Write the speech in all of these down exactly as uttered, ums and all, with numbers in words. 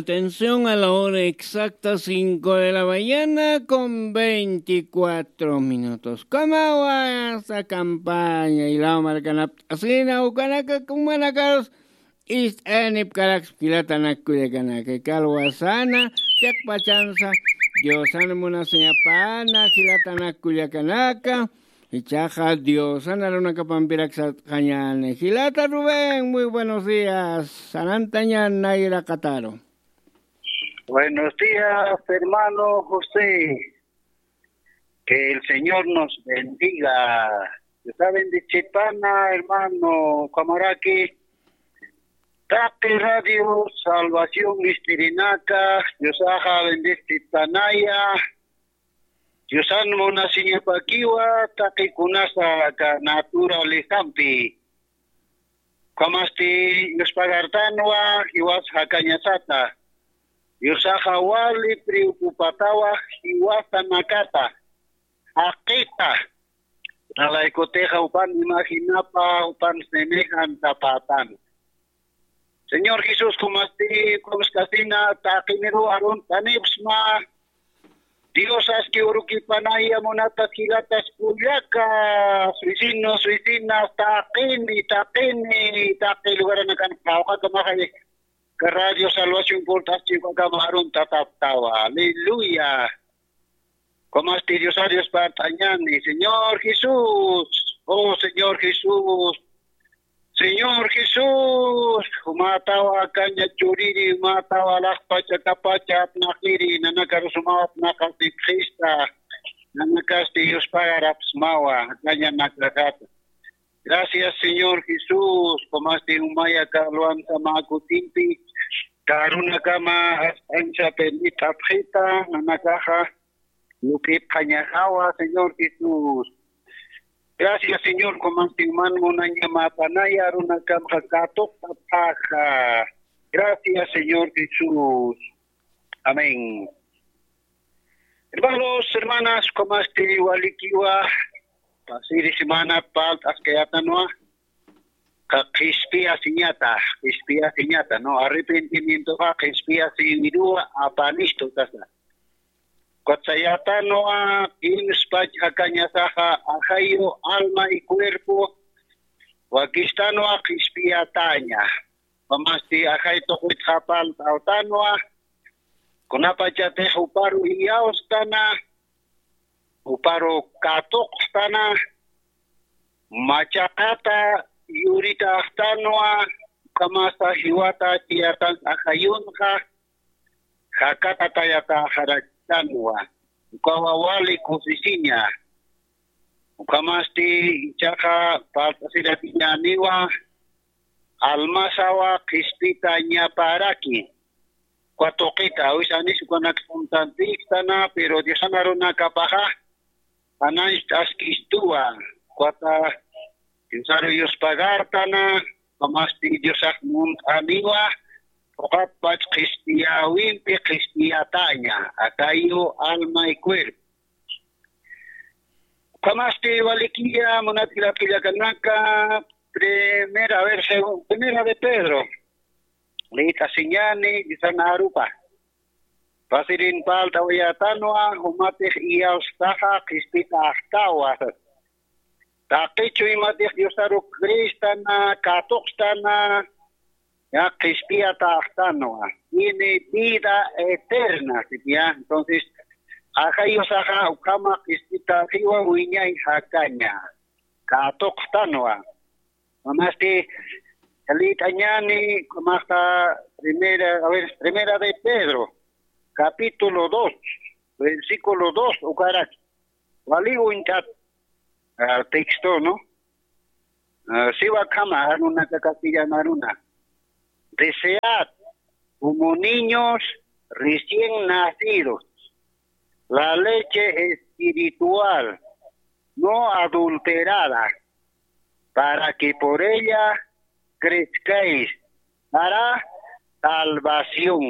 Atención a la hora exacta, cinco de la mañana con veinticuatro minutos. Kamawa sa campaña y la marca naptasina ukanaka kumanakarus. Ist'anip karaksp jilatanakullakanaka kalwasana chakpachansa. Diosan munasiñapana jilatanakullakanaka. Ichaqa Diosan arunakapampirak sart'añani. Jilata Rubén, muy buenos días. Sanantañan nayraqataru. Buenos días, hermano José. Que el Señor nos bendiga. Está bendecipana, hermano Camaraqui. Taqi Radio Salvación Mistirinaka, Diosaqa bendecipanaya. Diosan munasiñapakiwa, taqi kunasa ka naturalezampi. Kamasti yuspagartanwa, jiwas jakañasata. Diosaqa wali preocupatawa, jiwasanakata. Jaqita. Nalaykutiqa upan imaginapa, upan semejantapatan. Señor Jesús, kumasti, kumaskasina, taqiniru arun tanipsma. Dios aski urukipanaya munatas jilatas kullaka. Vecinos, vecinas, taqini, taqini, taqi lugaranakan qawqaka maqay. Ka Radio Salvación Cortas chiwakama arun tataptawa. Aleluya. Kamasti Dios, Dios partañani, Señor Jesús, oh Señor Jesús, Señor Jesús, jumatawa kaña churiri, jumatawa laqpacha kapacha apnaqiri, nanakarusumawa apnaqasipxista, nanakasti Dios pagarapsmawa, kaña nakakata. Gracias, Señor Jesús, kamasti umaya kalwansa mä kutimpi, karunakama ancha permitapxita, nanakaxa, Lup'ipxañaxawa, Señor Jesús. Gracias, Señor, kumantinman munañamapanaya, runakamxa katuqtapxaxa. Gracias, Señor Jesús. Amén. Hermanos, hermanas, kumasti walikiwa, pasiri semana palt'askayatanwa, ka qhispiyasiñata, qhispiyasiñata, ¿no? Arrepentimientoxa qhispiyasiwiruwa apanistu kasa. Kutsayatanwa, kimspach jakañasaxa, ajayu, alma y cuerpo, wakistanwa qhispiyataña. Kamasti ajay tuqitxa palt'awtanwa, kunapachatix uparu iyawstana, uparu katuqstana, machaqata yuritaxtanwa, kamasa jiwata chiyatan ajayunxa, jakata tayataxarakitanwa, ukawa wali kusisiña, ukamasti ichaqa palt'asiratiñaniwa, almasawa qhispita ñaparaki. Katuqita, awisanis ukanak suntantiktana, pero Diosan arunakapaxa, ananch t'askistuwa, kata Diosaru yuspagartana, kamasti Diosax munt'aniwa, uqatpach qhispiyawimpi qhispiyataña, akayu, alma y cuerpo. Kamasti walikiya, munatirapillakanaka, primera, a ver, segun-, primera de Pedro. Leyt'asiñani, Diosan arupa. Pasirin palt'awayatanwa, jumatix iyawstaxa, qhispitaxtawa. Taqichu imatix Diosaru cristana, katuqstana, ya qhispiyataxtanwa. Tiene vida eterna, ya. Entonces, ajayusaxa ukhama qhispitaxiwa wiñay jakaña. Katuqtanwa. Mamasti, liyt'añani, masta, primera, a ver, primera de Pedro, capítulo dos, versículo dos, ukarak. Wali uñt'at, ah, texto, ¿no? Ah, siwa kama, arunaka castellano aruna. Desead como niños recién nacidos la leche espiritual no adulterada, para que por ella crezcáis para salvación.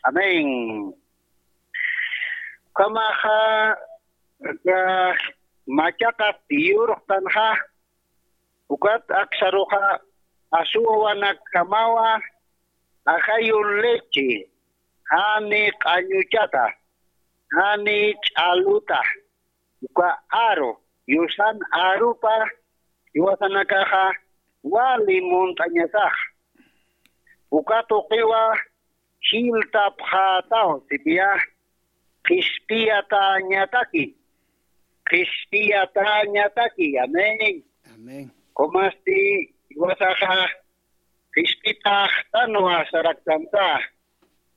Amén. Kamaxa, ka-, machaqat yurqtanxa, ukat aksaruxa, asuwawanakamawa, ajayu leche, jani q'añuchata, jani ch'aluta, uka aru, yusan arupa, jiwasanakaxa wali munt'añasax. Uka tuqiwa jiltapxätaw, sipiya, qhispiyatäñataki, qhispiyatäñataki. Amén. Amén. Kumasti jiwasaxa qhispitaxtanwa saraktansa,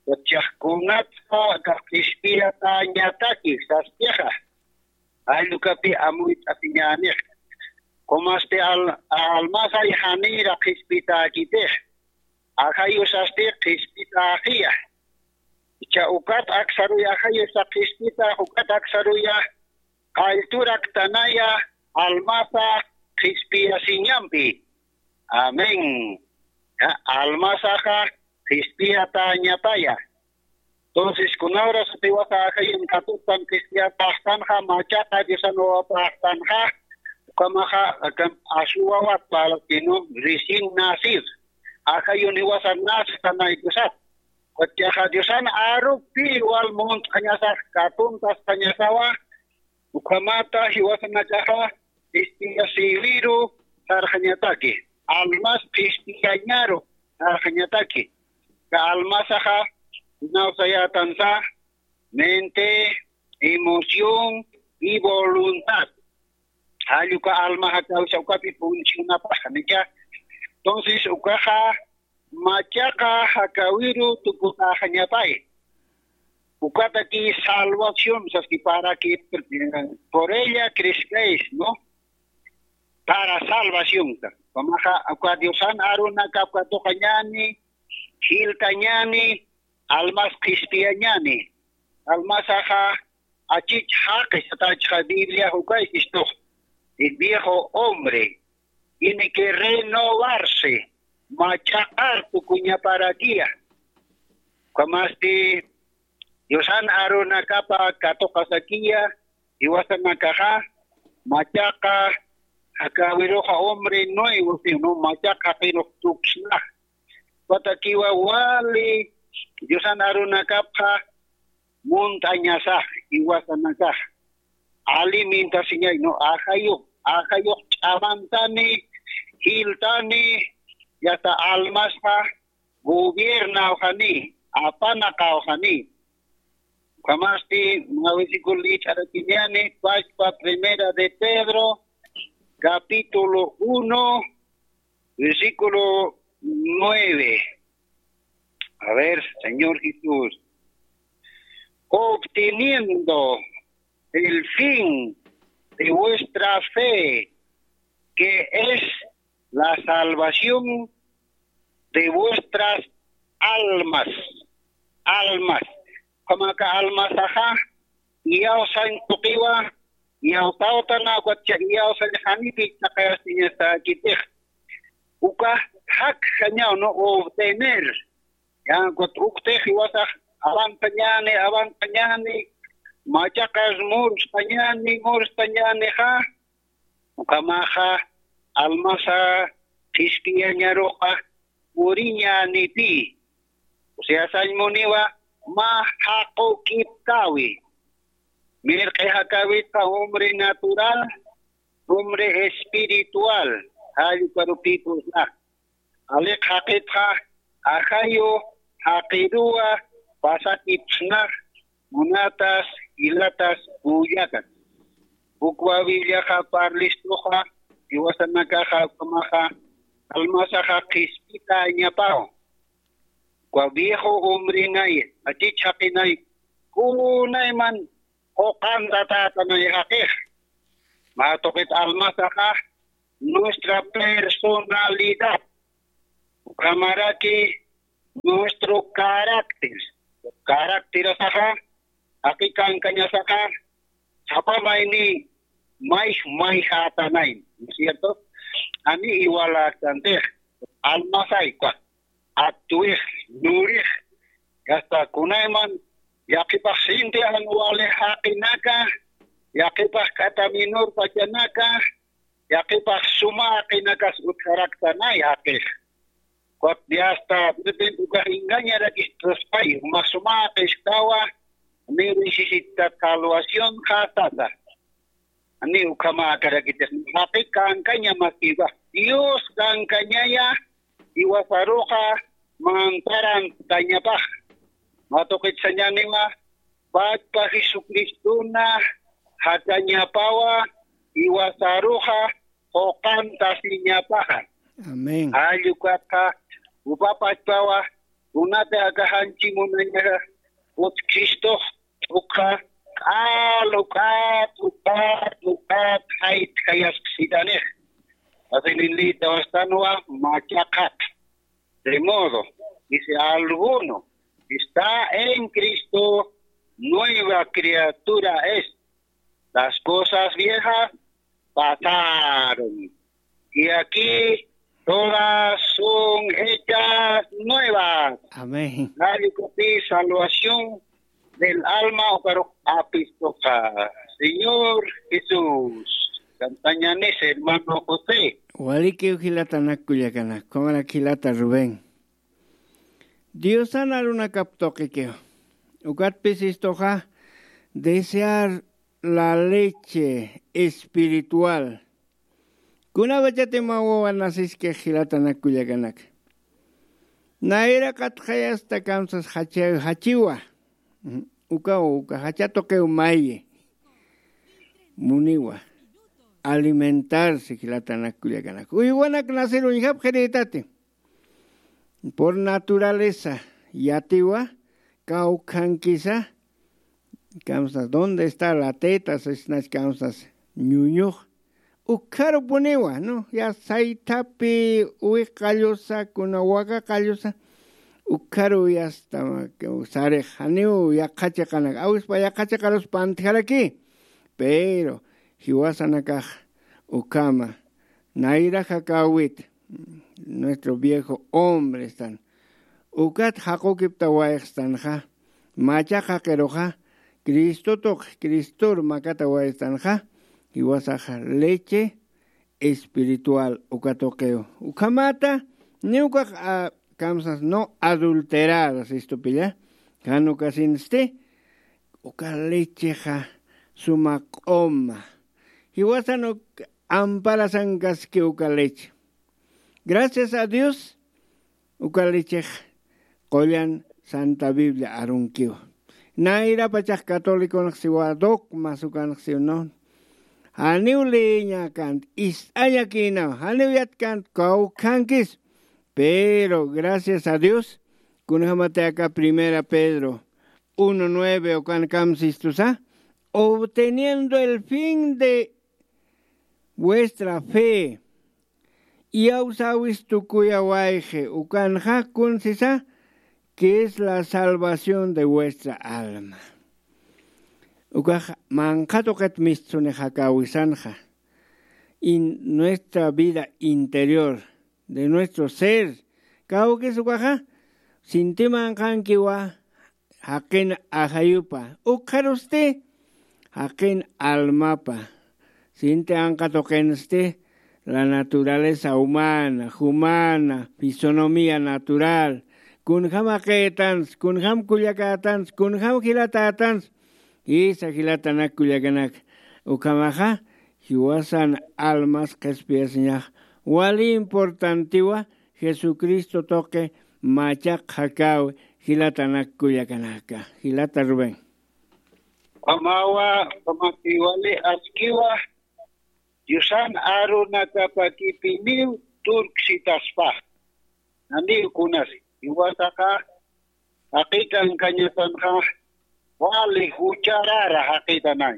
ukax kunatsa qhispiyatäñataki sastixa, jall ukapi amuyt'asiñänix. Kumasti al-, almasay janïra qhispitäkitix, ajayu sasti qhispitäxiya. Icha ukat aksaruya, ajayu sa qhispitax, ukat aksaruya qallturaktanaya almasa qhispiyasiñampi. Amén. Ya, almasaxa qhispiyatäñapaya. Entonces, kunawras jiwasa ajayun katuqtan qhispiyatäxtanxa, machaqa Diosan wawapäxtanxa, ukhamaxa, akan aswawat parlakinu, recién nacido. Ajayun jiwasa nacetanaykusat. Ukachaxa Diosan arupi wal munt'añasax katuntaskañasawa, ukhamata jiwasanakaxa qhispiyasïwiru sarxañataki, almas qhispiyañaru sarxañataki. Ka almasaxa nawsayätansa mente, emoción y voluntad. Jall uka alma jakawisa ukapi funcionapaxa, ¿no? Entonces, ukaxa machaqa jakawiru tukutäxañapay. Ukataki salvación, saski, para que, eh, por ella crezcáis, ¿no? Para salvación, ka. Ukhamaxa, uka Diosan arunakap katuqañäni, jiltañäni, almas qhispiyañäni. Almasaxa achich jaqi satachxa Biblia jukay sistux. El viejo hombre tiene que renovarse, machaqar tukuñaparakiya. Ukhamasti Diosan arunakapa katuqasakiya, jiwasanakaxa, machaqa jakawiruxa hombre nuevo, sino machaqa jaqirux tuksnax. Ukatakiwa wali Diosan arunakapxa munt'añasax, jiwasanakax alimentasiñay, ¿no? Ajayux, ajayux ch'amantani, jiltani, yasta almasxa gobiernawxani, apanaqawxani. Ukhamasti mä versículo liyt'arakiñäni, pachpa Primera de Pedro, capítulo uno, versículo nueve. A ver, Señor Jesús, obteniendo el fin de vuestra fe, que es la salvación de vuestras almas. Almas. Ukhamaxa almasaxa, iyawsañ tuqiwa, iyawsawtana, ukatxa iyawsañ janipi chaqayasiñasäkitix. Uka jakjañaw, ¿no? Obtener. Ya, ukat uktix jiwasax avanzañäni, avanzañäni, machaqas murstañäni, murstañänixa, ukhamaxa almasa qhispiyañaruxa puriñänipï. O sea, sañ muniwa mä jaqukipkäwi. Mirq'i jakäwitxa hombre natural, hombre espiritual, jall ukarupïpusna. Aliq jaqitxa ajayu jaqiruwa pasakipsnax, munatas, jilatas, kullakas. Ukwa Bibliaxa parlistuxa, jiwasanakaxa, ukhamaxa, almasaxa qhispitañapaw. Ukwa viejo hombrenay, achich jaqinay, kunayman quqantatätanay jaqix. Mä tuqit almasaxa, nuestra personalidad. Ukhamaraki nuestro carácter. Carácter asaxa, jaqi kankañasaxa, sapa mayni mayj mayjätanay, ¿no es cierto? Jani igualäktantix, almasay, actuix, lurix, hasta kunayman yaqhipax sinti jan wali jaqinaka, yaqhipax k'ata minur pachanaka, yaqhipax suma jaqinakas utjaraktanay jaqix. Ukat diasta, de repente ukax engañarakistuspayu, masumaqis kawa, ni necesitat salvación jasata. Ni ukhamakarakitix, jaqi kankaña makiwa. Dios kankañaya, iwasaruxa mantaran tañapax. Matuqitsañaniwa, Pachpa Jesucristona jakañapawa, iwasaruxa quqantasiñapaxa. Amén. Allukatxa, upa pachpawa, kunati akaxanchi munañaxa, ut Cristox, ukxa, k'al, ukat, ukat, ukat, jayt, jayasqsitanix. Asininlita wastanwa, machaqat. De modo, dice, alguno está en Cristo, nueva criatura es. Las cosas viejas pasaron. Y aquí todas son hechas nuevas. Amén. Salvación del alma, ukarux apistuxa. Señor Jesús. Kantañanis, hermano José. Walikiw jilatanak kullakanak, ukhamarak jilata Rubén. Diosan arunakap tuqikiw. Ukatpis istuxa desear la leche espiritual. Kunapachati mä wawa nasiskix jilatanak kullakanak. Nayraqat jayasta kamsas jacha-, jachiwa. Ukaw, uka jacha tuqiw mayi. Muniwa. Alimentarse jilatanak kullakanak. Uywanak nasir uñjapxirïtati. Por naturaleza, yatiwa, kawkhankisa, kamsas, ¿dónde está la teta? Sisnach kamsas, ñuñux, ukharupuniwa, ¿no? Ya saythapi, uwi qallusa, kuna waka qallusa, ukharu yasta, sarix, janiw yaqha chiqanak, awispa yaqha chiqarus pantjaraki, pero, jiwasanakax, ukhama, nayraxa kawit, nuestro viejo hombre están. Ukat jaqukiptawayxstanxa, machaqa qiruxa, Cristo tuq, Cristor makatawayxstanxa, jiwasaxa leche espiritual uka tuqiw. Ukhamata, ni ukax, a, kamsas no adulteradas, istupilla, jan ukasinsti, uka lechexa suma q'uma. Jiwasan uk amparasankaski uka leche. Gracias a Dios, uka lechex qullan Santa Biblia arunkiw. Nayrapachax catoliconx siwa dogmas ukanx siw, no. Janiw leeñakant, ist'añakïnaw, janiw yatkant kawkhankis. Pero, gracias a Dios, kunjamati aka Primera Pedro uno nueve ukan kamsistusa, obteniendo el fin de vuestra fe, iyawsäwis tukuyawayxi, ukanxa kunsisa, que es la salvación de vuestra alma. Ukax manqha tuqit mistsuni jakäwisanxa, in-, nuestra vida interior, de nuestro ser, kawkis ukaxa, sinti manqhankiwa, jaqin ajayupa, ukxarusti jaqin almapa. Sinti anqa tuqinsti la naturaleza humana, jumana, fisonomía natural, kunjam jaqïtansa, kunjam kullakätansa, kunjam jilatätansa, jisa jilatanak kullakanak. Ukhamaxa, jiwasan almas qhispiyasiñax, wali importantiwa, Jesucristo tuqi machaq jakäwi jilatanak kullakanaka. Jilata Rubén. Ukhamawa, ukhamakiwali askiwa, Diosan arunakapakipiniw turksitaspa. Naniw kunasi, jiwasaxa, jaqi kankañasanxa, wali jucharara jaqïtanay.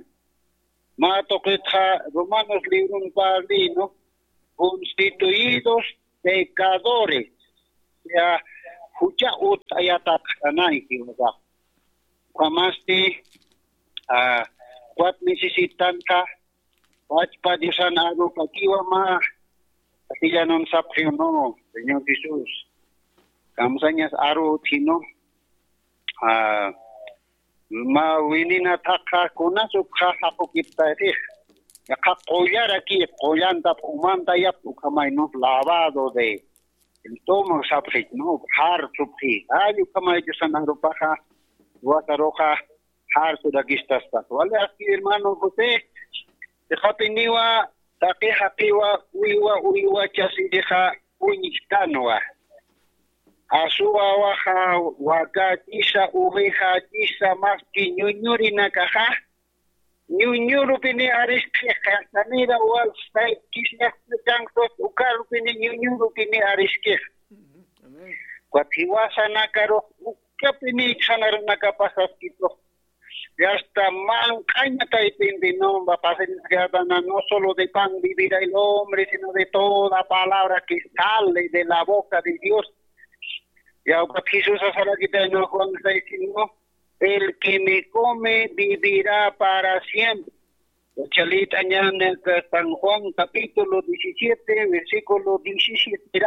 Mä tuqitxa Romanos librun parlï, ¿no? Constituidos pecadores. Ya, jucha utt'ayatapxtanay, jiwasax. Ukhamasti, a, ukat necesitanxa, pachpa Diosan arupakiwa mä, castellanun sapxiw, ¿no? Señor Jesús. Kamsañas aru utji, ¿no? A, mä winina thaqha kunas ukxa jaqukiptayxi. Yaqha qullaraki, qullantap umantayap ukhamay, ¿no? Lavado de, el tomo sapxit, ¿no? Jarsupxi. Ay, ukhamay Diosan arupaxa, wasaruxa, jarsurakistaspa. Wali aski hermano José, jaqiniwa, taqi jaqiwa, uywa, uywa chasirixa, uñjtanwa. Asuwawaxa, wakachisa, uvejachisa, maski ñuñurinakaxa, ñuñurupini ariskixa, sanira wal saykisas chanqus ukarupini ñuñurupini ariskixa. Ukat jiwasanakarux ukapini sanarunakapasaskitux. Yasta manq'aña taypinti nomba pasañaskatana, no solo de pan vivirá el hombre, sino de toda palabra que sale de la boca de Dios. Ya ukat Jesús asarakitayna Juan seis, no, el que me come vivirá para siempre. Chalita ñan San Juan capítulo diecisiete, versículo diecisiete.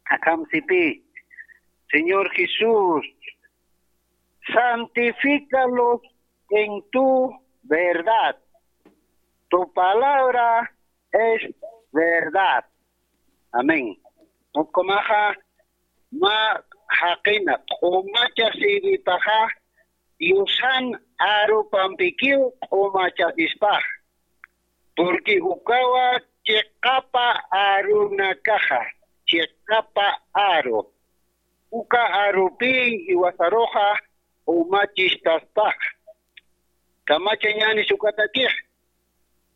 Akamsipi, Señor Jesús, santifícalos en tu verdad. Tu palabra es verdad. Amén. Ukamaxa, ma jaqina, q'umacha siwipaxa, Diosan arupampikiw q'umachasispax. Porque ukawa chiqapa arunakaxa, chiqapa aru. Uka arupi jiwasaruxa q'umachistaspax. Kamachañänis ukatakix.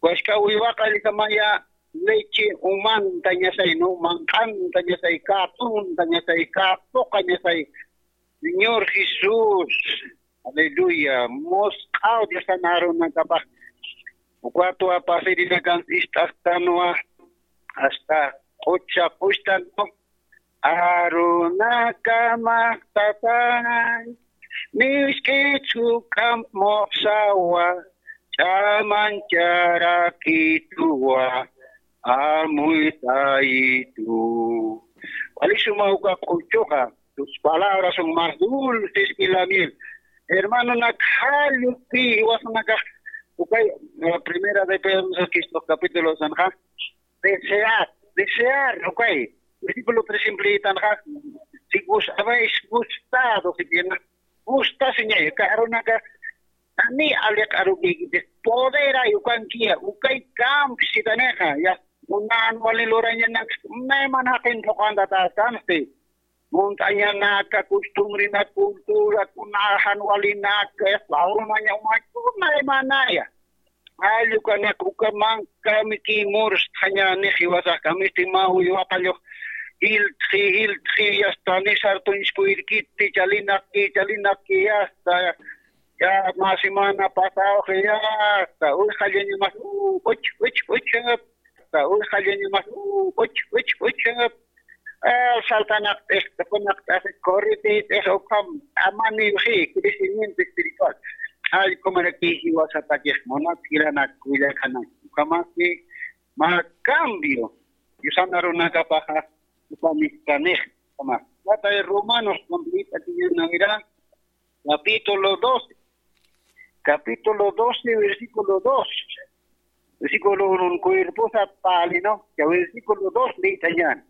Wask'a uywaqallisamaya leche umantañasay, no, manq'antañasay, katuntañasay, katuqañasay. Señor Jesús, aleluya, musq'aw Diosan arunakapax. Ukatwa pasirinakan ist'astanwa, hasta q'ucha q'uchtan, no, arunakamaq tatay, nisk'it juk'amp muxsawa, ch'amancharakituwa, amuytayitu. Wali suma uka q'uchuxa, tus palabras son más dulces que la miel. Hermano, nak jallupi jiwasanakax, ukay, la primera de Pedro, capítulo sanxa, desear, desear, ukay. Versículo tres simple tanxa, si os habéis gustado, si bien, gusta, Señor, ka arunaka, ani aliq arukikipis, poder ay ukankiya, ukay kamp sitanixa, ya, unan wali lurañanak, nayman jaqin phuqantatästansti. Muntañanaka, costumbrenak, cultura, kunaxan walinaka, umaña, umaña, kunaymanaya. Allukanak ukaman kamiki murstxaña nix jiwasax kamisti mä uywaqallux jiltxi, jiltxi, yasta nisar tuñskuyrkiti, chalinaqki, chalinaqki, yasta, ya, mä semana pasawxi, yasta, uxallañamas, uh, uch, uch, uch, yasta, uxallañamas, uh, uch, uch, uch, yasta. Ah, saltanaqt'ix, tukunaqt'ax, corritit'ix, ukham, amaniwxi, crecimiento espiritual. Allkumaraki jiwasatakix, munat jilanak, kullakanak. Ukhamaki, mä cambio. Diosan arunakapaxa, ukhamistanix, ukhama. Watay Romanos, completa, tiñanawira, capítulo doce. Capítulo doce, versículo dos. Versículo uno, cuerpo sapalino, ya versículo dos, litañan.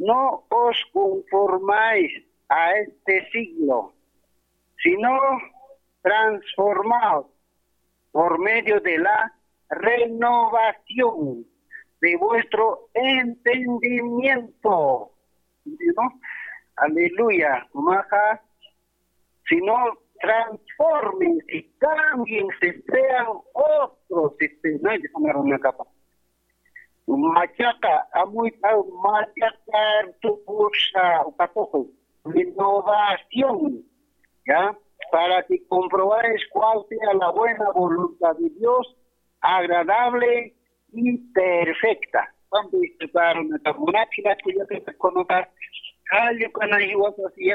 No os conformáis a este siglo, sino transformaos por medio de la renovación de vuestro entendimiento. ¿No? Aleluya. Maja, sino transformen y cambien, se sean otros, este, no hay que poner una capa. Machaca, amuita, machaca, tu cosa, ukatujo, renovación, ¿ya? Para que comprobáis cuál sea la buena voluntad de Dios, agradable y perfecta. Cuando estudiaron esta monarquía, que yo te conozco, ay, yo con ahí vas así,